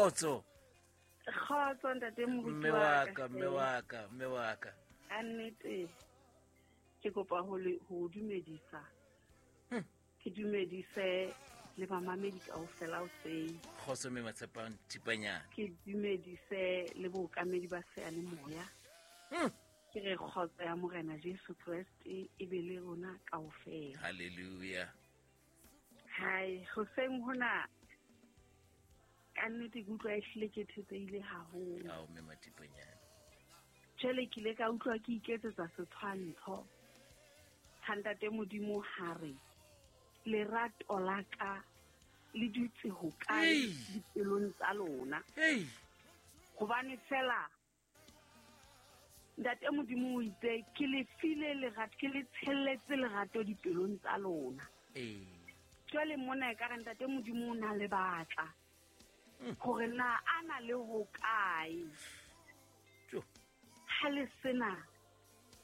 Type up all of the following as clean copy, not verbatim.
Kgotso. Kgotso ntate moruti Mme wa ka, mme wa ka, mme wa ka. Ka nnete ke kopa ho le ho dumedisa. Ke dumedise le bamamedi kaofela hoseng. Kgotso mme Matshepang Thipanyane. Ke dumedise le bookamedi ba seyalemoya. Ke re kgotso ya Morena Jesu Kreste e be le rona kaofela. Hallelujah. Hai, hoseng hona ka nnete ke utlwa ehlile ke thetsehile haholo. Ao mme Mathipanyane. Jwale ke ile ka utlwa ke iketsetsa setshwantsho sa ntate Modimo ha re lerato la ka le dutse hokae dipelong tsa lona. Hobane fela ntate Modimo o itse ke le file lerato, ke le tshelletse lerato dipelong tsa lona. Jwale mona ekare ntate Modimo o na le batla hore na a na le hokae. Ha le sena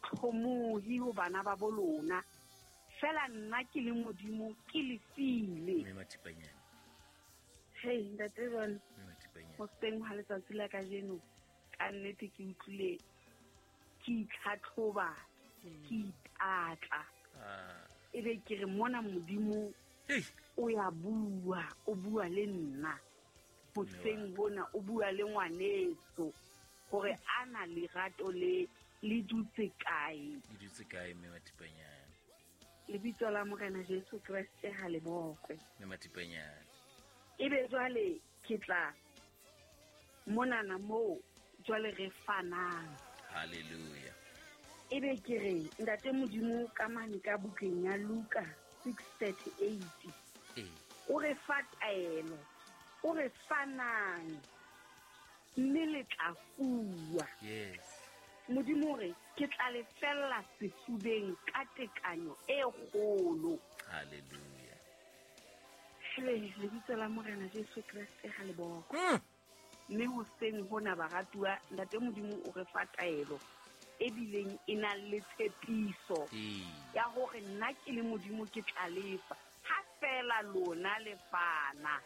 tlhomohi ho bana ba bo lona, fela nna ke le Modimo ke le file. Mme Mathipanyane. Hei, ntate John, Mme Mathipanyane. hoseng ha letsatsi la kajeno, ka nnete ke utlwile ke itlhatlhoba, ke ipatla. Ebe ke re mona Modimo o ya bua, o bua le nna. Hoseng hona o bua le ngwaneso hore a na lerato le le dutse kae. Le dutse kae mme Mathipanyane? Lebitso la Morena Jesu Kreste ha le bokwe. Mme Mathipanyane. Ebe jwale ke tla monana moo jwale re fanang. Hallelujah. Ebe ke re ntate Modimo ka mane ka bukeng ya Luka 6:38. O re fa taelo, o re fanang mme le tla fuwa. Yes. Modimo o re ke tla le fella sefubeng ka tekanyo e kgolo. Hallelujah. Hele, lebitso la Morena Jesu Kreste ha le bokwe. Mme hoseng hona baratuwa, ntate Modimo o re fa taelo e bileng e nang le tshepiso ya hore nna ke le Modimo ke tla lefa ha fela lona le fana.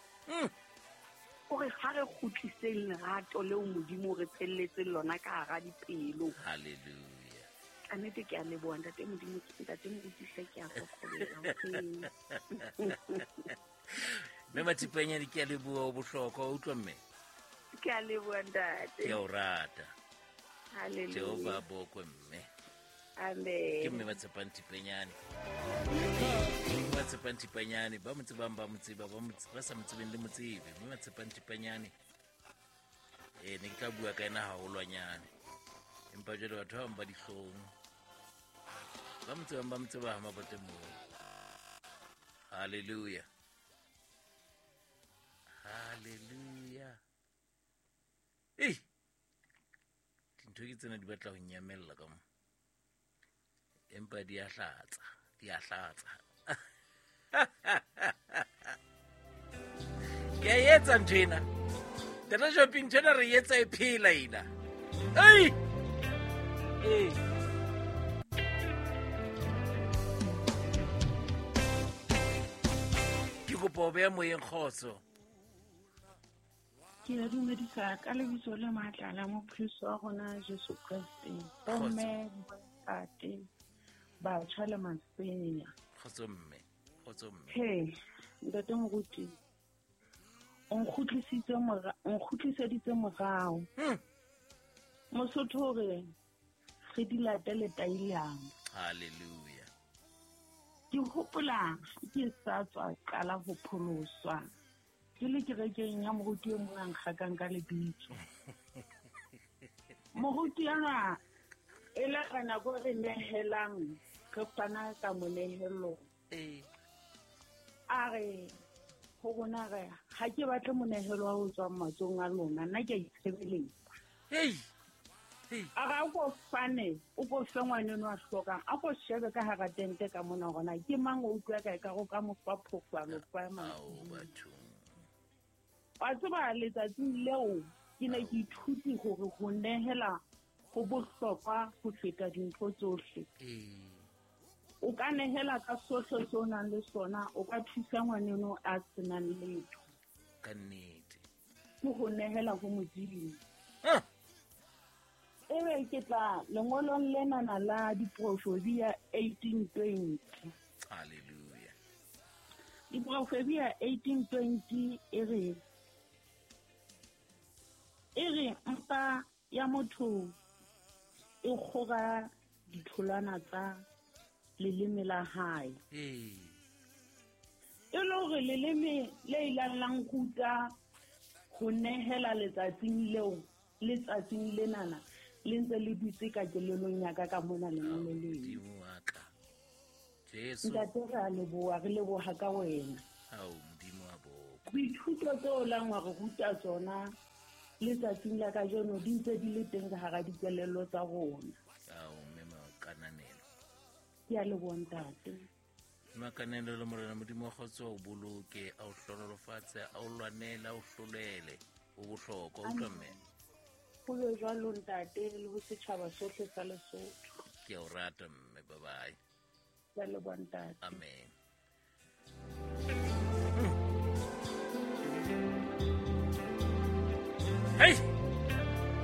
O re ha re kgutliseng lerato leo Modimo o re tshelletseng lona ka hara dipelo. Hallelujah. Ka nnete ke a leboha ntate Modimo, ntate Moruti hle ke a kokobela hoseng. Mme Mathipanyane ke a leboha, o bohlokwa, o utlwa mme? Ke a leboha ntate. Ke a o rata. Hallelujah. Jehova a bokwe mme. Amen. Ke mme Matshepang Thipanyane. Mme Matshepang Thipanyane, ba mo tsebang ba mo tseba, ba sa mo tsebeng le mo tsebe. Mme Matshepang Thipanyane, ne ke tla bua ka ena haholwanyane. Empa jwale batho ba bang ba dihlong. Ba mo tsebang ba mo tseba ha mabote moo. Hallelujah. Hallelujah. Ei! Dintho ke tsena di batla ho nyamella ka mo. Empa di a hlatsa, di a hlatsa. Ke a etsa ntho ena. Tata Shopping ntho ena re etsa e phela ena. Ei! Ei! Ke kopa ho beha moyeng kgotso. Ke a dumedisa ka lebitso le matla la mopholosi wa rona Jesu Kreste. Bomme, bontate, batjha le masea. Kgotso mme, kgotso mme. He, ntate Moruti, o nkgutliseditse morao. Mosotho o re, re di late letailana. Hallelujah. Ke hopola ke sa tswa qala ho pholoswa. Ke le kerekeng ya moruti e mong a nkgakang ka lebitso. Moruti enwa e le ka nako re nehelang, re fana ka monehelo. A re ho rona re, ha ke batle monehelo wa ho tswang matsohong a lona, nna ke a itshebeletsa. Hey. Hey. A re, a ko fane, o ko fe ngwaneno a hlokang, a ko shebe ka hara tente ka mona hore na ke mang o utlwa ka ekare o ka mo fa phofo, a mo fa mang. Ao, bathong. Wa tseba letsatsing leo ke ne ke ithute hore ho nehela ho bohlokwa ho feta dintho tsohle. O ka nehela ka sohle seo o nang le sona, o ka thusa ngwaneno a senang letho. Ka nnete. Ke ho nehela ho Modimo. Ebe ke tla lengolong lenana la Diprofobia 1820. Hallelujah. Diprofobia 1820 e re e re mpa ya motho e kgora ditholwana tsa leleme la hae. E le hore leleme le ilang la nkuta ho nehela letsatsing leo, letsatsing lenana le ntse le dutse ka kelelong ya ka ka mona lengolo leo. Modimo wa ka. Jesu. Ntate, re a leboha, re leboha ka wena. Ao, Modimo wa boko. Dithuto tseo lang wa re ruta tsona letsatsing la kajeno di ntse di le teng ka hara dikelello tsa rona. Ao, mme Makananelo. Ke a leboha, ntate. Makananelo le Morena Modimo wa kgotso o boloke, a o hlonolofatse, a o lwanele, a o hlolele. O bohlokwa, utlwa mme. Ho be jwalo, ntate, le ho setjhaba sohle sa Lesotho. Ke a o rata mme, bye bye. Ke a leboha, ntate. Amen.